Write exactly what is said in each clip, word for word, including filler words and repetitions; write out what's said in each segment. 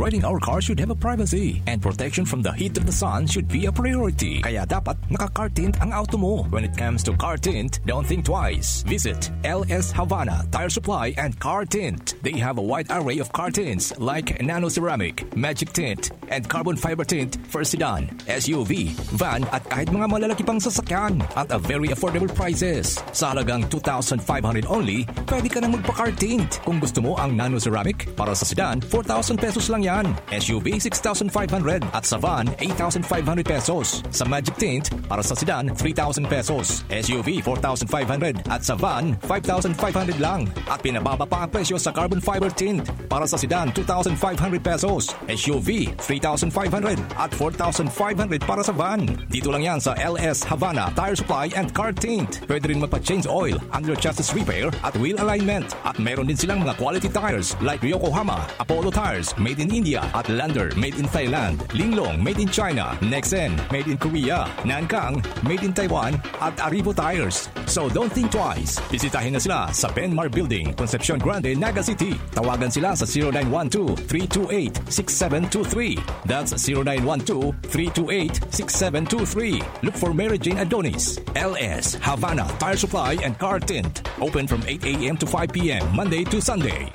Riding our car should have a privacy, and protection from the heat of the sun should be a priority. Kaya dapat naka-car tint ang auto mo. When it comes to car tint, don't think twice. Visit L S Havana Tire Supply and Car Tint. They have a wide array of car tints like nano ceramic, magic tint, and carbon fiber tint for sedan, S U V, van, at kahit mga malalaki pang sasakyan at a very affordable prices. Sa halagang two thousand five hundred only, pwede ka nang magpa-car tint. Kung gusto mo ang nano ceramic, para sa sedan, four thousand pesos lang yan. S U V, six thousand five hundred, at sa van, eight thousand five hundred pesos. Sa magic tint, para sa sedan, three thousand pesos. S U V, four thousand five hundred, at sa van, five thousand five hundred lang. At pinababa pa ang presyo sa carbon fiber tint. Para sa sedan, two thousand five hundred pesos. S U V, three thousand five hundred at four thousand five hundred para sa van. Dito lang yan sa L S Havana Tire Supply and Car Tint. Pwede rin magpa-change oil, under chassis repair at wheel alignment. At meron din silang mga quality tires like Yokohama, Apollo Tires, made in India, at Lander, made in Thailand, Linglong, made in China, Nexen, made in Korea, Nankang, made in Taiwan, at Arrivo Tires. So don't think twice. Bisitahin na sila sa Benmar Building, Concepcion Grande, Naga City. Tawagan sila sa zero nine one two, three two eight, six seven two three. That's zero nine one two, three two eight, six seven two three. Look for Mary Jane Adonis, L S, Havana Tire Supply and Car Tint. Open from eight a.m. to five p.m., Monday to Sunday.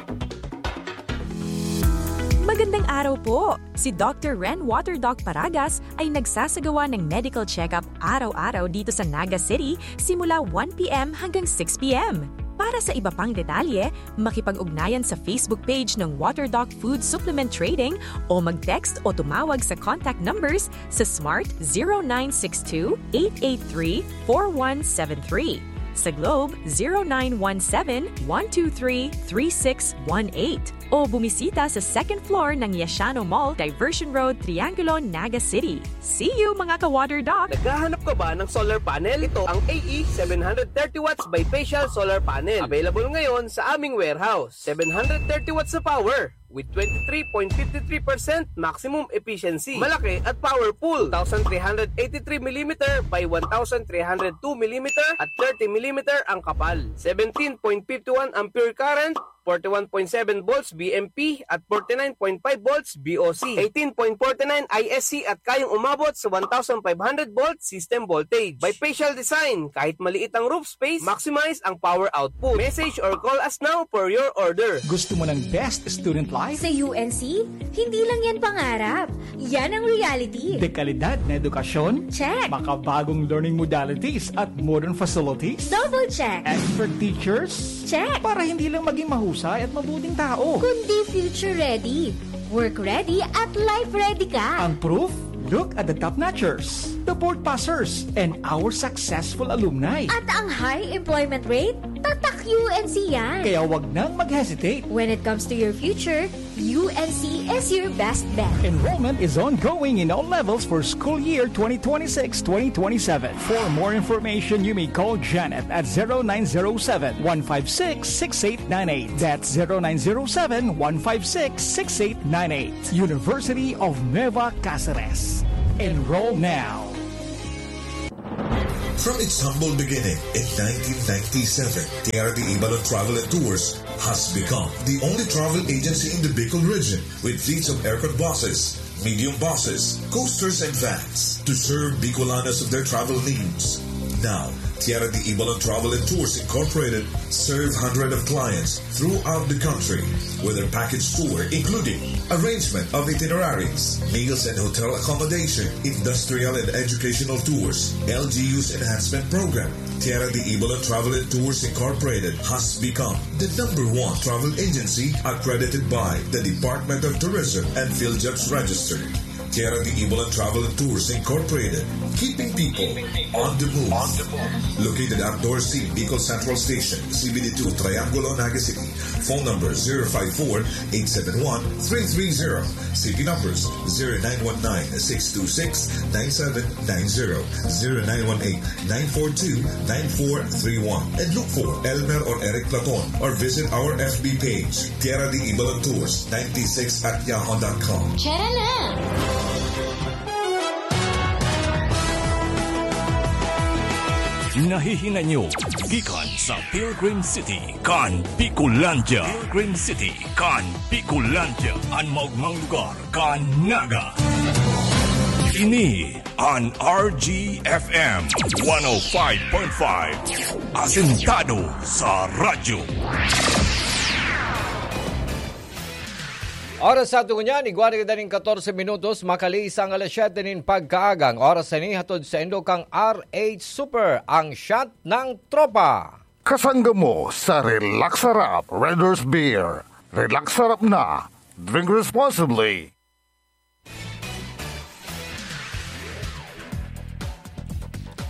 Magandang araw po! Si Doctor Ren Water Doc Paragas ay nagsasagawa ng medical check-up araw-araw dito sa Naga City simula one p.m. hanggang six p.m. Para sa iba pang detalye, makipag-ugnayan sa Facebook page ng Water Doc Food Supplement Trading o mag-text o tumawag sa contact numbers sa Smart zero nine six two, eight eight three, four one seven three, sa Globe zero nine one seven, one two three, three six one eight, o bumisita sa second floor ng Yashano Mall, Diversion Road, Triangulo, Naga City. See you, mga ka-Water Doc! Naghahanap ka ba ng solar panel? Ito ang A E seven hundred thirty watts bifacial solar panel. Available ngayon sa aming warehouse. Seven hundred thirty watts na power with twenty-three point fifty-three percent maximum efficiency. Malaki at powerful. Two thousand three hundred eighty-three millimeter by one thousand three hundred two millimeter at thirty millimeter ang kapal. Seventeen point fifty-one ampere current, forty-one point seven volts V M P at forty-nine point five volts V O C, eighteen point forty-nine I S C at kayang umabot sa one thousand five hundred volt system voltage. Bifacial design, kahit maliit ang roof space, maximize ang power output. Message or call us now for your order. Gusto mo ng best student life? Sa U N C, hindi lang yan pangarap. Yan ang reality. Dekalidad na edukasyon? Check. Makabagong learning modalities at modern facilities? Double check. Expert teachers? Check. Para hindi lang maging mahusay at mabuting tao. Kundi future ready. Work ready at life ready ka. Ang proof? Look at the top notchers, the board passers, and our successful alumni. At ang high employment rate? Tatak U N C yan. Kaya wag nang mag-hesitate. When it comes to your future, U N C is your best bet. Enrollment is ongoing in all levels for school year twenty twenty-six twenty twenty-seven. For more information, you may call Janet at zero nine zero seven, one five six, six eight nine eight. That's zero nine zero seven, one five six, six eight nine eight. University of Nueva Cáceres. Enroll now. From its humble beginning in nineteen ninety-seven, Tierra de Ibalon Travel and Tours has become the only travel agency in the Bicol region with fleets of aircon buses, medium buses, coasters, and vans to serve Bicolanos of their travel needs. Now, Tierra de Ibalon Travel and Tours Incorporated serve hundred of clients throughout the country with their package tour, including arrangement of itineraries, meals and hotel accommodation, industrial and educational tours, L G U's enhancement program. Tierra de Ibalon Travel and Tours Incorporated has become the number one travel agency accredited by the Department of Tourism and PhilJobs Register. Tierra de Ibalon Travel and Tours Incorporated, keeping people on the move. Located at Dorsey, Bicol Central Station, C B D two, Triangulo, Naga City. Phone number zero five four, eight seven one, three three zero. City numbers zero nine one nine, six two six, nine seven nine zero, zero nine one eight, nine four two, nine four three one. And look for Elmer or Eric Platon or visit our F B page, Tierra de Ibalon Tours ninety-six at yahoo dot com. Tara na! Nahihinanyo gikan sa Pilgrim City kan Bicolandia. Pilgrim City kan Bicolandia, an maogmang lugar kan Naga. Ini an R G F M one oh five point five, asentado sa radyo. Oras sa aton ngunyan, igwa na kita nin katorse minutos, makalihis ang alas siyete nin pagkaaga. Ang oras na ini hatod saindo kan R H Super, ang shot ng tropa. Kasangga mo sa Relax Sarap Red Horse Beer. Relax Sarap na. Drink responsibly.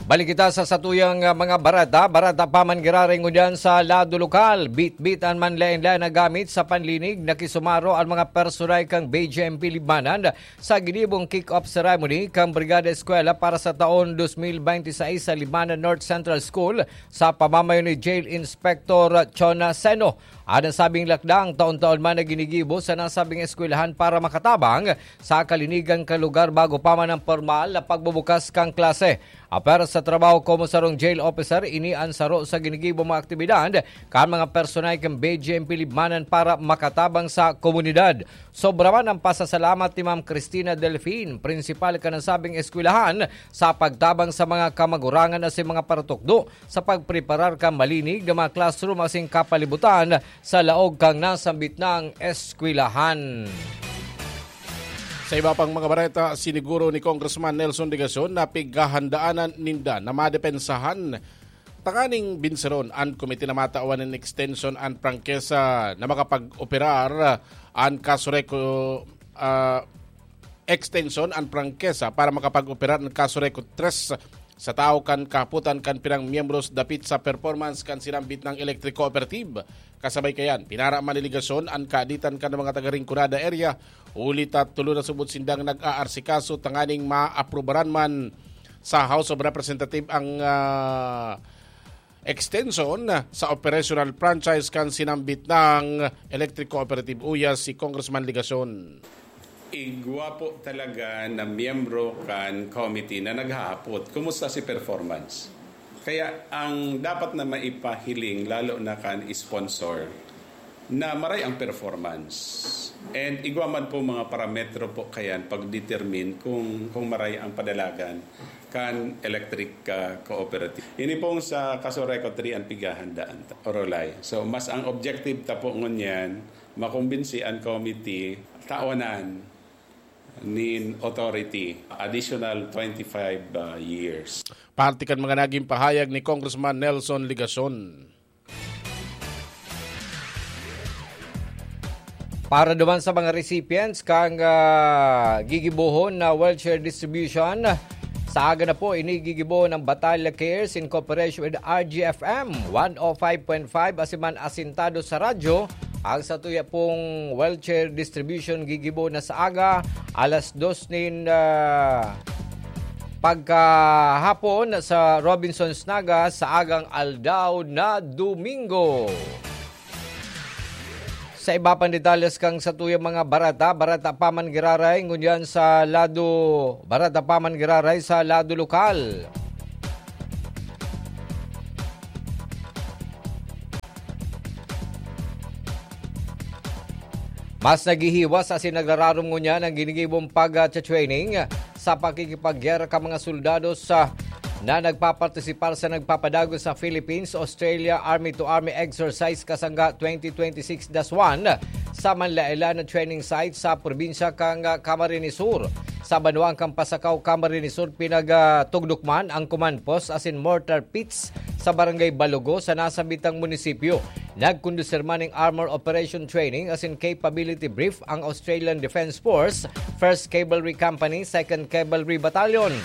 Balik kita sa satuyang, ah, mga bareta. Bareta pa man giraray ngunyan sa lado lokal. Bitbit an manlaen-laen na gamit sa panlinig. Nakisumaro ang mga personay kan B J M P Libmanan sa ginibong kick-off ceremony kan Brigada Eskwela para sa taon dos mil bente seis sa Libmanan North Central School sa pamamayo ni Jail Inspector Chona Seno. An nasabing lakdang taon-taon man na ginigibo sa nasabing eskwelahan para makatabang sa kalinigan kan lugar bago pa man ang pormal na pagbubukas kan klase. Apwera sa trabaho komo sarong jail officer, ini an saro sa ginigibo mga aktibidad kan mga personay kan B J M P Libmanan para makatabang sa komunidad. Sobra man ang pasasalamat ni Ma'am Cristina Delfin, prinsipal kan nasabing eskwelahan, sa pagtabang sa mga kamagurangan asin mga paratukdo sa pagpreparar kan malinig na mga classroom asin kapalibutan sa laog kan nasambit na eskwelahan. Sa iba pang mga bareta, siniguro ni Congressman Nelson Legacion na pighahandaanan ninda na madepensahan tanganing binseron an komite na matawan nin extension an prangkesa na makapag-operar an Casureco, ah, extension an prangkesa para makapag-operar an Casureco tres sa tahaw kan kahapotan kan pirang miyembros dapit sa performance kan sinambit na electric cooperative. Kasabay kayan, pinara man ni Legacion an kaaditan kan mga taga Rinconada area, huli ta tulo na subot sindang nag-aarsikaso tanganing maaprubaran man sa House of Representatives ang, ah, extension sa operational franchise kan sinambit na electric cooperative uya si Congressman Legacion. Igwa po talaga na miyembro kan committee na naghahapot, "Kumusta si performance?" Kaya ang dapat na maipahiling, lalo na kan sponsor, na maray ang performance. And igwa man po mga parametro po kayan pag-determine kung, kung maray ang padalagan kan electric, ah, cooperative. Ini pong sa Casureco three ang pighahandaan ta, Orolay. So, mas ang objective ta po ngunyan, makumbinsi an committee, tawanan nin authority, additional twenty-five, ah, years. Parte kan mga naging pahayag ni Congressman Nelson Legacion. Para duman sa mga recipients kan, ah, gigibohon na wheelchair distribution, sa aga na po, ini gigibohon ng Batalla Cares in cooperation with R G F M one oh five point five, asin man asentado sa radyo. Ang satuya pong wheelchair distribution gigibo na sa aga, alas dos nin, ah, pagkahapon sa Robinsons Naga sa agang aldaw na Domingo. Sa iba pang detalles kan satuyang mga bareta, bareta pa man giraray ngunyan sa lado, bareta pa man giraray sa lado lokal. Mas naghihiwas asin nagrararom ngunyan an ginigibong pag-, ah, training sa pakikipaggyera kan mga soldados sa, na nagpapartisipar sa nagpapadagos sa Philippines-Australia Army-to-Army Exercise Kasangga twenty twenty-six dash one sa manlaen-laen na training site sa probinsya kan, ah, Camarines Sur. Sa banwaan kan Pasacao, Camarines Sur, pinagtugdok man ang command post asin mortar pits sa Barangay Balogo sa nasambitang munisipyo. Nagkondusir man ning armor operation training asin capability brief ang Australian Defence Force, First Cavalry Company, Second Cavalry Battalion.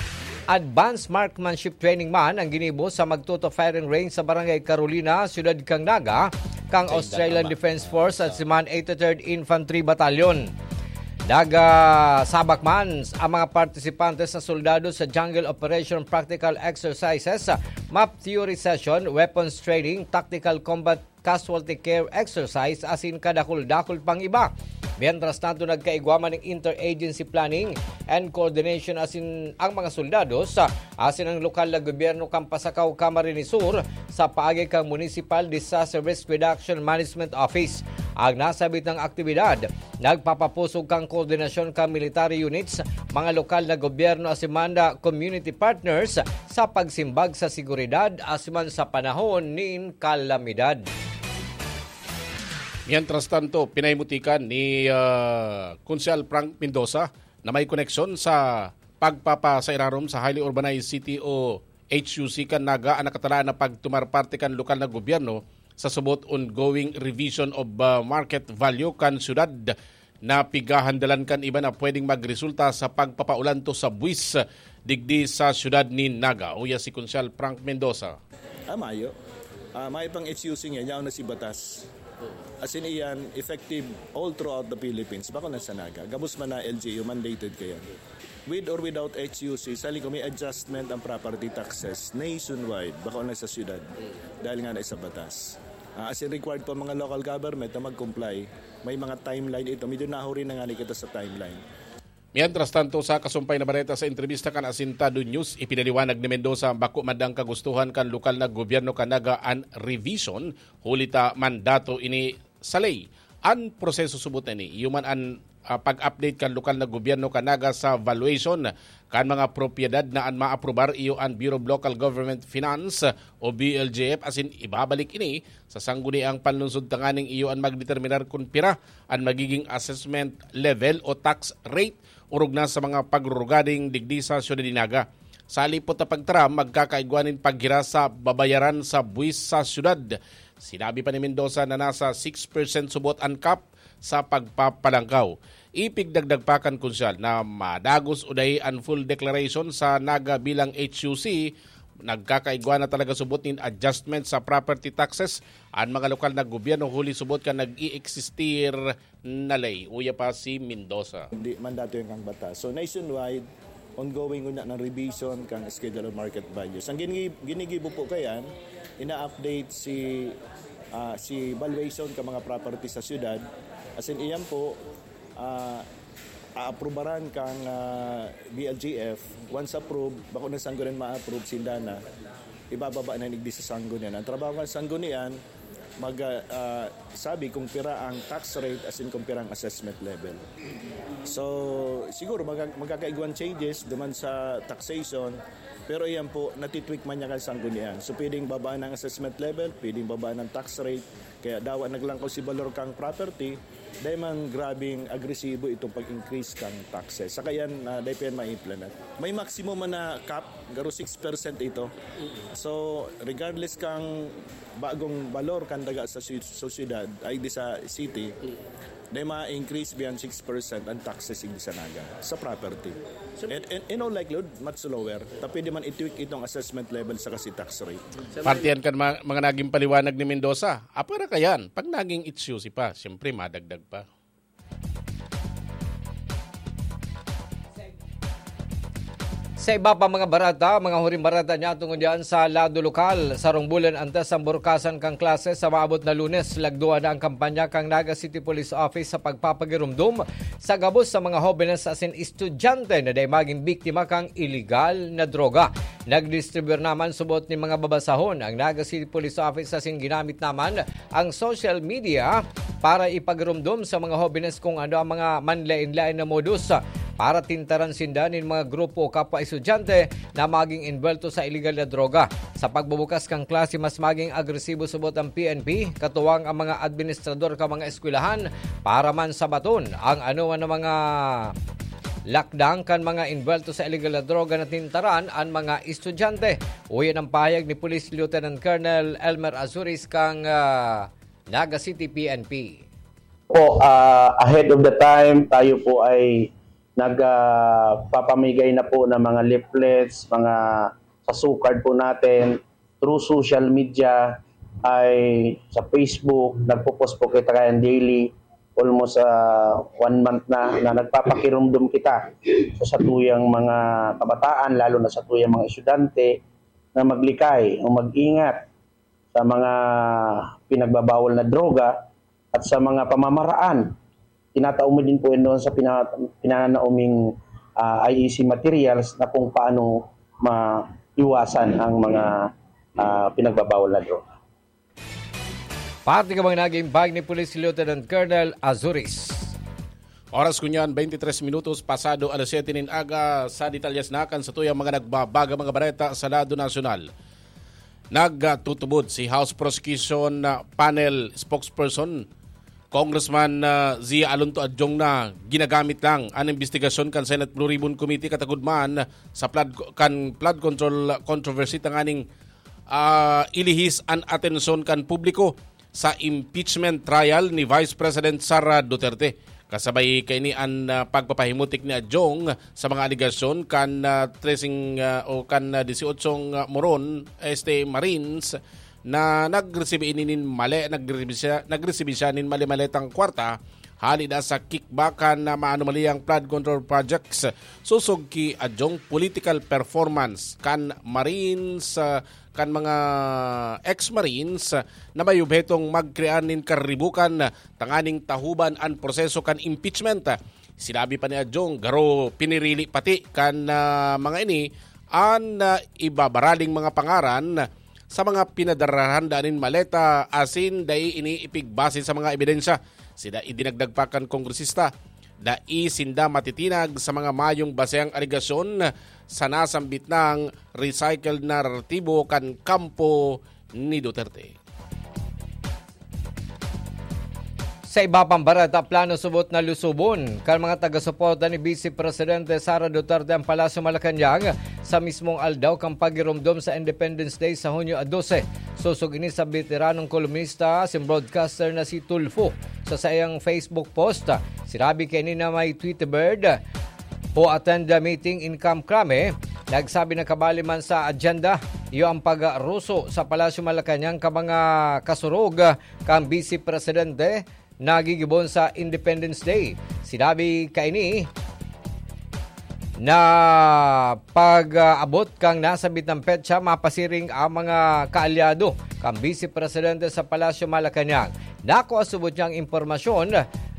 Advanced marksmanship training man ang ginibo sa magtuto firing range sa Barangay Carolina, Siyudad kan Naga, kan Australian Defence Force asin man eighty-third Infantry Battalion. Nagsabak man ang mga partisipante sa soldado sa Jungle Operation Practical Exercises, Map Theory Session, Weapons Training, Tactical Combat Casualty Care Exercise, asin kadakul-dakul pang iba. Mientras tanto, nagkaigwa man nin interagency planning and coordination asin ang mga soldados, ah, asin ang lokal na gobyerno kan Pasacao, Camarines Sur, sa paagi kan Municipal Disaster Risk Reduction Management Office. Ang nasabitang aktibidad nagpapapusog kan koordinasyon kan military units, mga lokal na gobyerno asin man community partners sa pagsimbag sa seguridad asin man sa panahon nin kalamidad. Mientras tanto, pinahimutikan ni, ah, Konsehal Frank Mendoza na may koneksyon sa pagpapasairarom sa highly urbanized city o H U C kan Naga an nakatalaan na pagtumar parte kan lokal na gobyerno sa subot ongoing revision of, ah, market value kan syudad na pigahandalan kan iba na pwedeng magresulta sa pagpapaulanto sa buwis digdi sa syudad ni Naga. Uya si Konsehal Frank Mendoza. Ah, mayo. Ah, mayo pang H U C niya, yaon na si batas. As in, iyan, effective all throughout the Philippines. Bako na sa Naga. Gabos man na L G U, mandated kaya. With or without H U C, sali ko may adjustment ang property taxes nationwide. Bako na sa syudad. Dahil nga na sa batas. Ah, as in, required po ang mga local government na mag-comply. May mga timeline ito. Medyo nahuri na nga ni kita sa timeline. Mientras tanto, sa kasumpay na bareta, sa entrevista kan Asintado News, ipinaliwanag ni Mendoza, bako man daang kagustuhan kan lokal na gobyerno kan Naga an revision, huli ta mandato ini sa ley. An proseso subot na ini, iyo man an, ah, pag-update kan lokal na gobyerno kan Naga sa valuation kan mga propiedad na an maaprubar iyo an Bureau of Local Government Finance o B L G F, asin ibabalik ini sa sangguniang panlunsod tanganing iyo an magdeterminar kun pira an magiging assessment level o tax rate orog na sa mga pagrurugading digdi sa syudad ni Naga. Sa lipot na pagtaram, magkakaigwa nin paggira sa babayaran sa buwis sa syudad. Sinabi pa ni Mendoza na nasa six percent subot an cap sa pagpapalangkaw. Ipigdagdag pa kan Konsehal na madagos o dai an full declaration sa Naga bilang H U C, nagkakaigwa na talaga subot nin adjustment sa property taxes an mga lokal na gobyerno huli subot kan nag-i-existir na ley. Uya pa si Mendoza. Hindi, mandato yan kang batas. So, nationwide, ongoing una ng revision kang Schedule of Market Values. Ang gini-, ginigibo po kayan, ina-update si, ah, si valuation ka mga property sa syudad. As in, iyan po, ah, aaprubaran kang, ah, B L G F. Once approved, bako na sanggunian ma-approve, sinda na, ibababa na digdi sa sanggunian. Ang trabaho kan sanggunian, mag, ah, sabi kung pira ang tax rate, as in kung pira ang assessment level. So, siguro magka-, magkakaigwang changes duman sa taxation, pero iyan po, natitweak man niya kan sanggunian. So, pwedeng babaan ang assessment level, pwedeng babaan ang tax rate, kaya dawa naglangkaw si balor kang property, dahil man grabing agresibo itong pag-increase kang taxes. Saka yan, ah, dahil pa yan ma-implement. May maximum man na cap, garo six percent ito. So, regardless kang bagong balor kan daga sa sy-, sa syudad, ay di sa city, dahil ma-increase beyond six percent ang taxes in sa Naga, sa property. And, and in all likelihood, much lower. Ta pwede man i-tweak itong assessment level sa kasi tax rate. Parte yan kan ma-, mga naging paliwanag ni Mendoza. Apwera kayan, pag naging H U C pa, siyempre madagdag pa. Sa iba pa mga barata, mga huring barata niya tungod diyan sa lado lokal, sarong bulan antes ang burukasan kan klase sa maabot na Lunes, lagduan na ang kampanya kan Naga City Police Office sa pagpapagirumdom sa gabos sa mga hobenes asin estudyante na dai magin biktima kan iligal na droga. Nagdistribuyar naman subot nin mga babasahon ang Naga City Police Office asin ginamit naman ang social media para ipagirumdom sa mga hobenes kung ano ang mga manlaen-laen na modus para tintaran sinda nin mga grupo o kapwa estudyante na maging envuelto sa iligal na droga. Sa pagbubukas kan klase, mas maging agresibo subot ang P N P, katuwang ang mga administrador kan mga eskwelahan para man sabaton ang anoman na mga lakdang kan mga envuelto sa iligal na droga na tintaran an mga estudyante. Uyan ang pahayag ni Police Lieutenant Colonel Elmer Azuris kan, ah, Naga City P N P. Po, ah, ahead of the time, tayo po ay nag, ah, papamigay na po ng mga leaflets, mga sa sukad po natin, through social media, ay sa Facebook, nagpo-post po kita kayan daily, almost, ah, one month na, na nagpapakirumdom kita sa satuyang mga kabataan, lalo na satuyang mga estudyante, na maglikay o mag-ingat sa mga pinagbabawal na droga at sa mga pamamaraan tinatao mo din po yun doon sa pina-, pinanaoming, ah, I E C materials na kung paano maiwasan ang mga, ah, pinagbabawal na droga. Parte ka mga naging bag ni Police Lieutenant Colonel Azuris. Oras ko niyan, twenty-three minutos pasado alas siyete nin aga. Sa detalyes na kan sa tuyang mga nagbabaga mga bareta sa lado nasyonal. Nagtutubod si House Prosecution Panel Spokesperson Congressman uh, Zia Alonto Adjong na ginagamit lang an imbestigasyon kan Senate Blue Ribbon Committee katagod man sa flood, kan flood control controversy tanganing uh, ilihis an atensyon kan publiko sa impeachment trial ni Vice President Sara Duterte. Kasabay kaini an uh, pagpapahimutik ni Adjong sa mga alegasyon kan uh, tracing uh, o kan uh, dieciocho uh, Moron este Marines na nagresibi ini nin mali, nagresibi siya, nagresibi siya nin mali-maletang kwarta hali na sa kickback kan maanomaliyang flood control projects. Sosog ki Adjong political performance kan Marines, uh, kan mga ex-Marines, uh, na may obhetong magkrear nin karibukan tanganing tahuban an proseso kan impeachment. Sinabi pa ni Adjong, garo pinirili pati kan uh, mga ini an uh, ibabaraling mga pangaran sa mga pinadararanda nin maleta asin dai ini ipigbase sa mga ebidensya. Sida idinagdag pa kan kongresista, dai sinda matitinag sa mga mayong basehang alegasyon sa nasambit nang recycled naratibo kan kampo ni Duterte. Sa iba pang bareta, plano subot na lusubon kan mga taga-suporta ni Vice Presidente Sara Duterte ang Palasyo Malacañang sa mismong aldaw kan paghiromdom sa Independence Day sa Hunyo a dose. Sosog ini sa beteranong kolumnista asin broadcaster na si Tulfo. Sa saiyang Facebook post, sinabi kaini na may Tweety Bird who attend the meeting in Camp Crame, nagsabi na kabali man sa agenda, iyo ang pagruso sa Palasyo Malacañang ka mga kasurog kan Vice Presidente na gigibon sa Independence Day. Sinabi kaini na pag-abot kan nasabit na petsa, mapasiring ang mga kaalyado kan Vice Presidente sa Palasyo Malacañang. Nakua subot niya ang impormasyon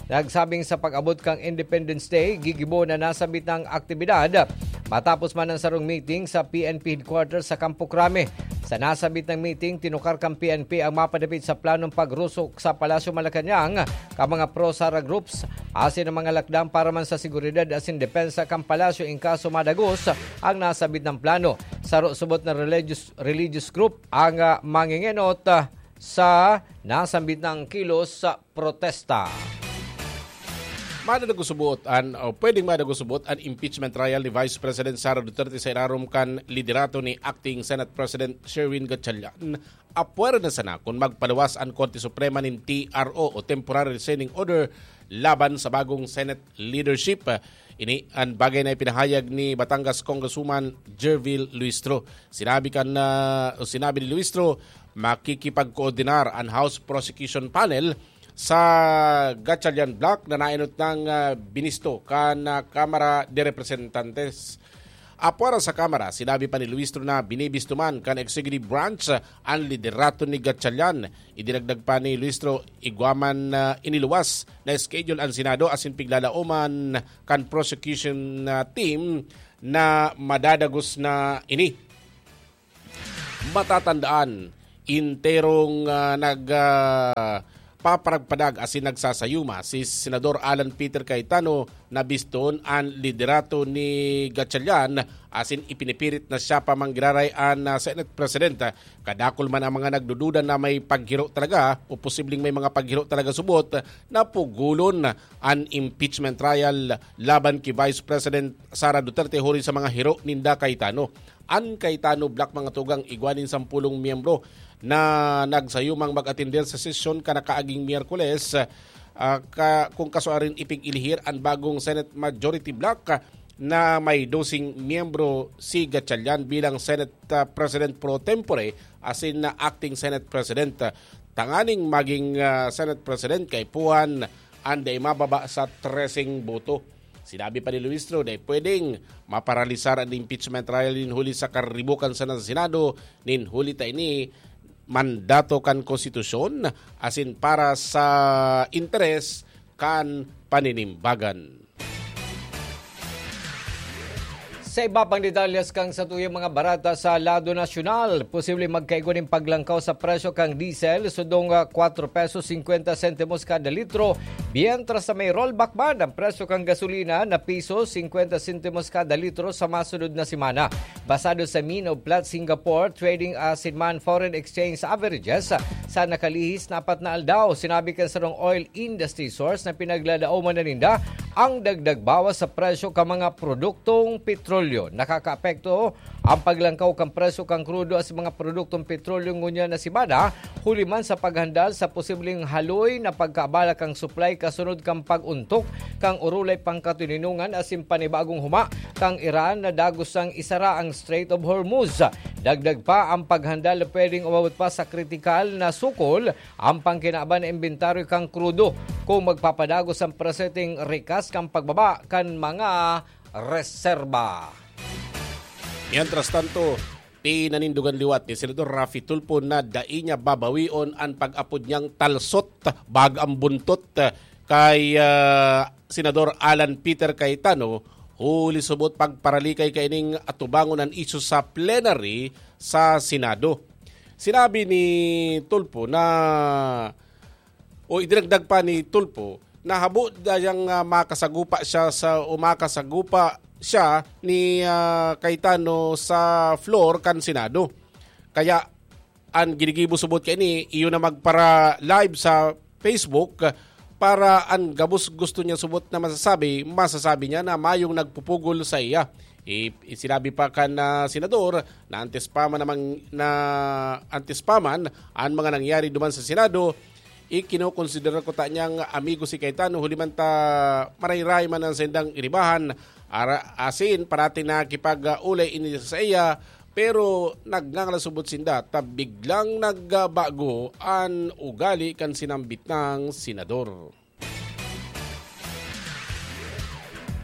nagsabing sa pag-abot kan Independence Day, gigibo na nasabit na ang aktibidad matapos man ang sarong meeting sa P N P headquarters sa Campo Crame. Sa nasabit na meeting, tinukar kan P N P ang mapadapit sa planong pagrusok sa Palasyo Malacañang kan mga pro-Sara groups asin ang mga lakdang para man sa seguridad asin depensa kan palasyo in kaso madagos ang nasabit na plano. Saro subot na religious, religious group ang ah, mangingenot ah, sa nasambit na kilos sa protesta. Madadagos subot an, o pwedeng madagos subot an impeachment trial ni Vice President Sara Duterte sa irarom kan liderato ni Acting Senate President Sherwin Gatchalian. Apwera na sana kun magpaluwas an Korte Suprema nin T R O o Temporary Restraining Order laban sa bagong Senate leadership. Ini an bagay na ipinahayag ni Batangas Congresswoman Gerville Luistro. Sinabi kan, ah, o sinabi ni Luistro, makikipagkoordinar an House Prosecution Panel sa Gatchalian Block na naenot nang ah, binisto kan ah, Kamara de Representantes. Apwera sa Kamara, sinabi pa ni Luistro na binibisto man kan executive branch an liderato ni Gatchalian. Idinagdag pa ni Luistro, igwa man ah, iniluwas na schedule an Senado asin piglalaoman kan prosecution ah, team na madadagos na ini. Matatandaan, enterong ah, nag ah, paparagpadag asin nagsasayuma si Senador Alan Peter Cayetano na biston an liderato ni Gatchalian asin ipinipirit na siya pa manggiraray an ah, Senate President. Kadakul man ang mga nagdududa na may paghiro talaga o posibleng may mga paghiro talaga subot na pugulon an impeachment trial laban ki Vice President Sara Duterte huli sa mga hiro ninda Cayetano. An Cayetano Black mga tugang igwa nin sampulong miyembro na nagsayumang mag-atender sa sesyon kanakaaging Miyerkules, ah, ka, kung kasuarin ipig-ilihir an bagong Senate Majority Black na may dosing miyembro si Gatchalian bilang Senate ah, President pro tempore asin na Acting Senate President. Tanganing maging ah, Senate President kaipuhan an dai mababa sa treseng boto. Sinabi pa ni Luistro, dai pwedeng maparalisar an impeachment trial nin huli sa karibukan sa Senado nin huli ta ini mandato kan konstitusyon asin para sa interes kan paninimbagan. Sa iba pang detalyes kan satuyang mga bareta sa lado nasyonal, posibleng magkaigwa nin paglangkaw sa presyo kan diesel, sundong, ah, kwatro pesos singkwenta sentimos kada litro, mientras na may rollback man ang presyo kan gasolina na piso singkwenta sentimos kada litro sa masunod na semana. Basado sa Mean of Platts Singapore Trading asin man foreign exchange averages sa nakalihis na apat na aldaw, sinabi kan sarong oil industry source na pinagladaoman na ninda ang dagdag bawas sa presyo kan mga produktong petrolyo. Nakakaapekto ang paglangkaw kan presyo kan krudo asin mga produktong petrolyo ngunyan na semana, huli man sa paghandal sa posibleng haloy na pagkaabala kan supply kasunod kan pag-ontok kan orolay pangkatoninongan asin panibagong huma kan Iran na dagos nang isara ang Strait of Hormuz. Dagdag pa ang paghandal na pwedeng umabot pa sa kritikal na sukol ang pangkinaban na imbentaryo kan krudo kung magpapadagos ang presyo ning rikas kan pagbaba kan mga reserba. Mientras tanto, pinanindugan liwat ni Senador Raffy Tulfo na dai niya babawion an pag-apod niyang talsot, bag ang buntot, kay, ah, Senador Alan Peter Cayetano, huli subot pagparalikay kaining atubangon an isyu sa plenary sa Senado. Sinabi ni Tulfo na, o idinagdag pa ni Tulfo, na habo dayang, ah, makasagupa siya sa, o makasagupa siya ni, ah, Cayetano sa floor kan Senado. Kaya an ginigibo subot kaini, iyo na magpara-live sa Facebook para an gabos gusto niya subot na masasabi, masasabi niya na mayong nagpupugol sa iya. I-, sinabi pa kan, ah, senador na antes pa man namang, na antes pa man an mga nangyari duman sa Senado, ikinokonsidera ko ta niyang amigo si Cayetano, huli man ta marayray man an saindang iribahan, ara-, asin parati nakipag-ulay ini sa iya, pero nagngangalasubot sinda ta biglang nagbago an ugali kan sinambit nang senador.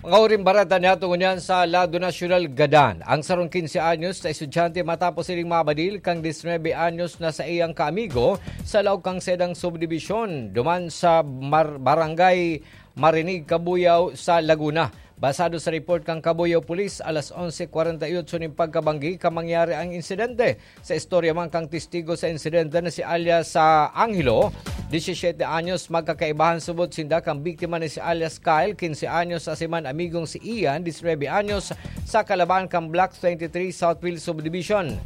Mga huring bareta niyato ngunyan sa lado nasyonal gadan. Ang sarong quince anyos na estudyante matapos sining mabadil kang diecinuebe anyos na saiyang kaamigo sa laog kang sedang subdibisyon duman sa Mar-, Barangay Marinig, Cabuyao sa Laguna. Basado sa report kan Cabuyao Police, alas onse kwarenta y otso nin pagkabanggi ka mangyari ang insidente. Sa istorya man kan testigo sa insidente na si alias, ah, Angelo, disisiyete anyos, magkakaibahan subot sinda kan biktima na si alias Kyle, quince anyos, asin man amigong si Ian, diecinuebe anyos, sa kalabahan kan Block twenty-three Southfield Subdivision.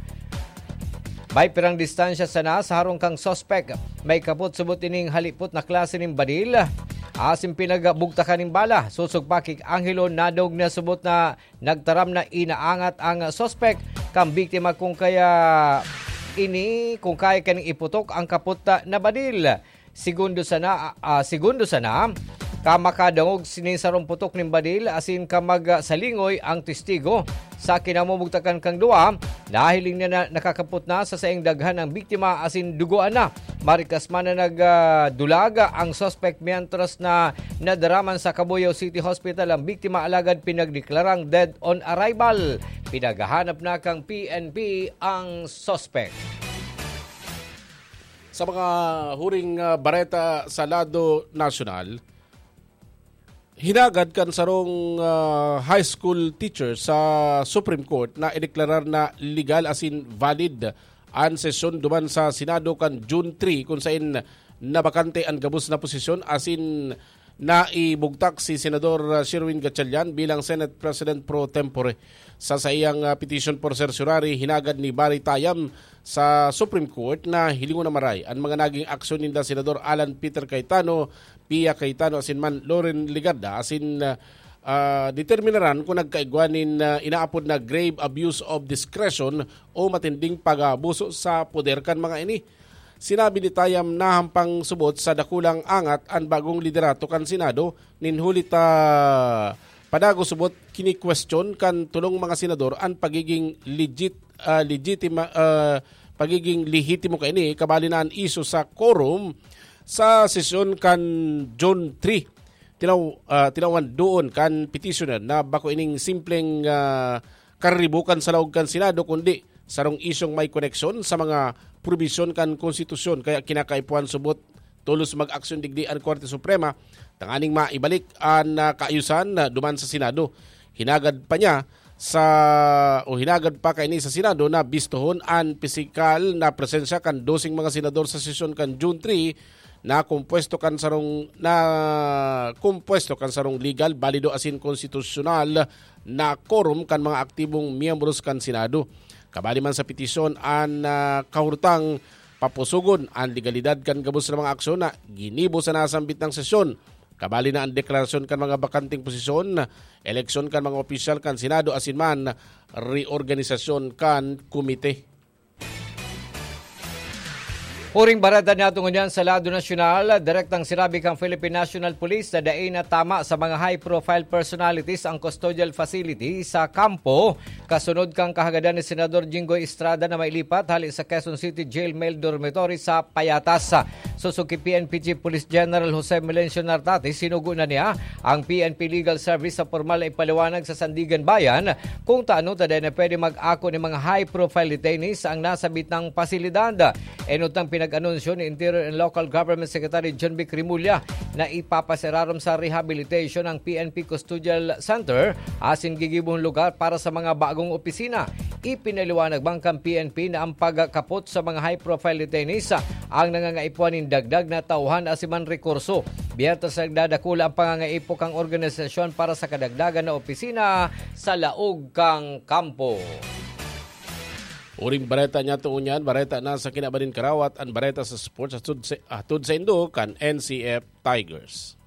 May pirang distansya sana sa harong kan suspek. May kapot subot ining halipot na klase nin badil, asin pinagbugtakan nin bala. Sosog pa ki Angelo, nadog na subot na nagtaram na inaangat ang suspek kan biktima kung kaya ini, kung kaya kaning iputok ang kapot na badil. Segundo sana, ah, segundo sana, ka makadangog nin sarong putok nin badil asin ka magsalingoy ang testigo. Sa kinamumugtakan kang duwa, nahiling niya na nakakapot na sa saing daghan ang biktima asin dugoan na. Marikas man na nag, ah, dulag ang suspek mientras na nadaraman sa Cabuyao City Hospital ang biktima, alagad pinagdeklarang dead on arrival. Pinaghahanap na kang P N P ang suspek. Sa mga huring, ah, bareta sa lado nasyonal, hinagad kan sarong, ah, high school teacher sa Supreme Court na ideklarar na legal asin valid an sesyon duman sa Senado kan June three, kun saen nabakante an gabos na posisyon asin naibugtak si Senador, ah, Sherwin Gatchalian bilang Senate President pro tempore. Sa saiyang, ah, petition for certiorari, hinagad ni Barry Tayam sa Supreme Court na hilingon na maray an mga naging aksyon ninda Senador Alan Peter Cayetano, Pia Cayetano asin man Loren Legarda asin, ah, ah, determinaran kung nagkaigwa nin, ah, inaapod na grave abuse of discretion o matinding pag-aabuso sa poder kan mga ini. Sinabi ni Tayam na hampang subot sa dakulang angat an bagong liderato kan Senado nin huli ta padagos subot kinikwestiyon kan tolong mga senador an pagiging legit-, ah, legitima-, ah, pagiging lehitimo kaini, kabali na an isyu sa quorum sa sesyon kan June three. Tinaw-, ah, tinawan doon kan petitioner na bako ining simpleng, ah, kariribukan sa laog kan Senado, kundi sarong isyung may koneksyon sa mga probisyon kan konstitusyon, kaya kinakaipuhan subot tolos mag-aksyon digdi an Korte Suprema, tanganing maibalik an ah, kaayusan ah, duman sa Senado. Hinagad pa niya sa o hinagad pa kaini sa Senado na bistohon an pisikal na presensya kan doseng mga senador sa sesyon kan June three na kompuesto kan sarong na kompuesto kan sarong legal, balido asin konstitusyonal na quorum kan mga aktibong miyembros kan Senado. Kabali man sa petisyon an ah, kahurtang papusugon an legalidad kan gabos na mga aksyon na ginibo sa nasambit na sesyon. Kabali na an deklarasyon kan mga bakanteng posisyon, eleksyon kan mga opisyal kan Senado asin man reorganisasyon kan komite. Huring bareta niyato ngunyan sa lado nasyonal, direktang sinabi kan Philippine National Police na dai na tama sa mga high-profile personalities ang custodial facility sa kampo, kasunod kan kahagadan ni Senador Jinggoy Estrada na mailipat hali sa Quezon City Jail Male Dormitory sa Payatas. Susuki P N P Chief Police General Jose Melencio Nartate, sinugo na niya ang P N P Legal Service sa pormal na ipaliwanag sa Sandigan Bayan kung taano ta dai na pwede mag-ako ni mga high-profile detainees ang nasabitang pasilidad. Enot ang pinag-anunsyo ni Interior and Local Government Secretary John Vic Remulla na ipapaserarom sa rehabilitation ang P N P Custodial Center asin gigibong lugar para sa mga bagong opisina. Ipinaliwanag man kan P N P na ang pagkapot sa mga high-profile detainees ang nangangaipuhan nin dagdag na tauhan asin man rekurso. Biyernes nagdadakula ang pangangaipo kan organisasyon para sa kadagdagan na opisina sa laog kan kampo. Uring bareta niyato ngunyan, bareta na sa kinaban nin karawat, an bareta sa sports hatod sa, hatod saindo kan N C F Tigers.